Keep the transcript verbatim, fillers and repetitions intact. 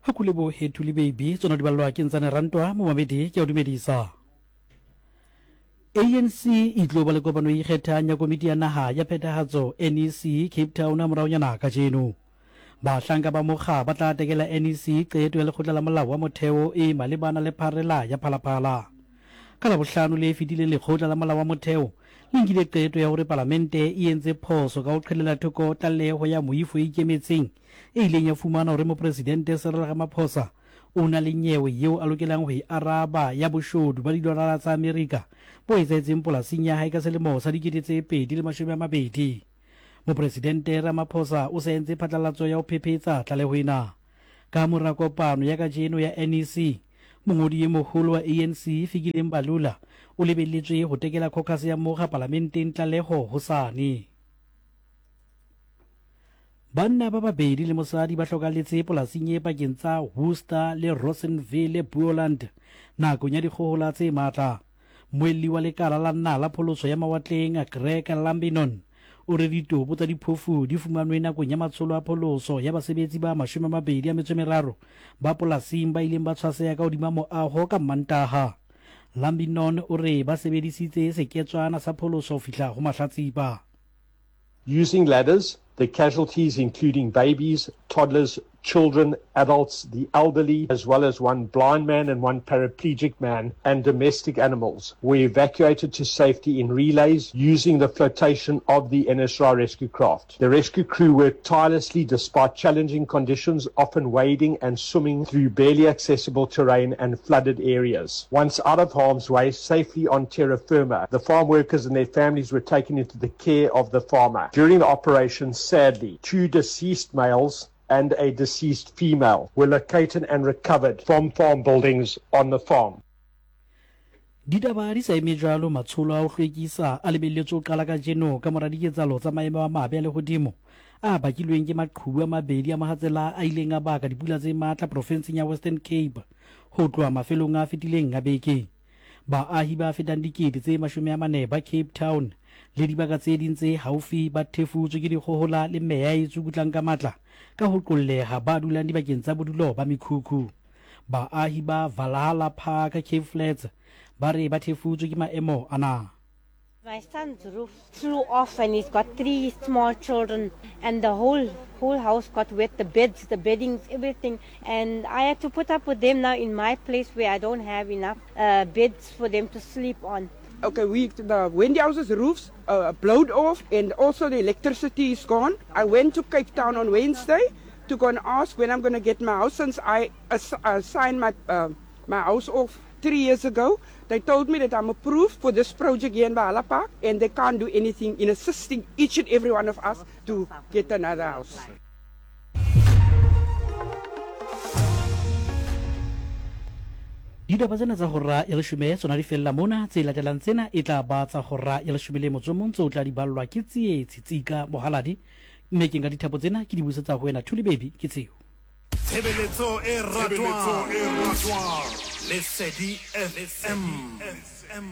Ga ku lebohe Thuli Baby, tsona di balelwa ke Ntsane Rantwa, momamedi ke a o dumedisa. A N C e tlo ba le kopano e ikgethang ya komiti ya naga ya phethagatso, N E C, Cape Town moraonyana kajeno. Bahlanka ba mokga ba tla tekela N E C qeto ya lekgotla la molao wa motheo e malebana le pharela ya Phalaphala. Ka Labohlano le fetileng lekgotla la molao wa motheo le nkile qeto ya gore palamente e entse phoso ka go qhelela thoko tlaleho ya moifo e ikemetseng e ileng ya fumana gore mopresidente Cyril Ramaphosa o na le nyewe yeo a lokelang go e araba ya boshodu ba didolara tsa Amerika bo etsahetseng polasing ya hae ka selemo sa dikete tse pedi le mashome a mabedi. Mopresidente Ramaphosa o se entse phatlalatso ya ho phephetsa tlaleho ena. Ka mora kopano ya kajeno ya N E C, mongodi e moholo wa A N C Fikile Mbalula o lebelletswe ho tekela caucus ya mokga palamenteng tlaleho hosane. Banna ba babedi le mosadi ba hlokalletse polasing e pakeng tsa Worcester le Rosenville Boland nakong ya dikgohola tse matla. Moelli wa lekala la nna la pholoso ya mawatleng Greg Lambinon o re ditopo tsa diphofu di fumanwe nakong ya matsholo a pholoso ya basebetsi ba mashome a mabedi a metso e meraro ba polasing ba ileng ba tshwaseha ka hodima moaho ka Mantaha. Lambinon o re ba sebedisitse seketswana sa pholoso ho fihla ho mahlatsipa. Using ladders, the casualties including babies, toddlers, children, adults, the elderly, as well as one blind man and one paraplegic man, and domestic animals, were evacuated to safety in relays using the flotation of the N S R I rescue craft. The rescue crew worked tirelessly despite challenging conditions, often wading and swimming through barely accessible terrain and flooded areas. Once out of harm's way, safely on terra firma, the farm workers and their families were taken into the care of the farmer. During the operation, sadly, two deceased males and a deceased female were located and recovered from farm buildings on the farm. Ditaba di sa eme jwalo, matsholo a ho hlwekisa a lebelletswe ho qala kajeno ka mora diketsahalo tsa maemo a mabe a lehodimo a bakilweng ke maqhubu a mabedi a mohatsela a ileng a baka dipula tse matla profenseng ya Western Cape ho tloha mafelong a fetileng a beke. Baahi ba fetang dikete tse mashome a mane ba Cape Town le dibaka tse ding tse haufi ba thefutswe ke dikgohola le meya e tsukutlang ka matla ka ho qolleha ba dulang dibakeng tsa bodulo ba mekhukhu. Baahi ba Valhalla Park Cape Flats ba re ba thefutswe ke maemo ana. My son's roof flew off and he's got three small children and the whole whole house got wet, the beds, the beddings, everything. And I had to put up with them now in my place where I don't have enough, uh, beds for them to sleep on. Okay, we, the Wendy House's roofs, uh, blowed off and also the electricity is gone. I went to Cape Town on Wednesday to go and ask when I'm gonna get my house since I ass-, uh, signed my, uh, my house off three years ago. They told me that I'm approved for this project here in Valhalla Park and they can't do anything in assisting each and every one of us to get another house. Ditaba tsena tsa hora ya leshome tsona di fella mona, tse latelang tsena e tla ba tsa hora ya leshome le motso o mong tseo tla di ballwa ke Tsietsi Tsika Mohaladi, mme ke nka dithapo tsena ke di busetsa ho wena Thuli Baby ke tseo. Tshebeletso e ratwang. Lesedi F M.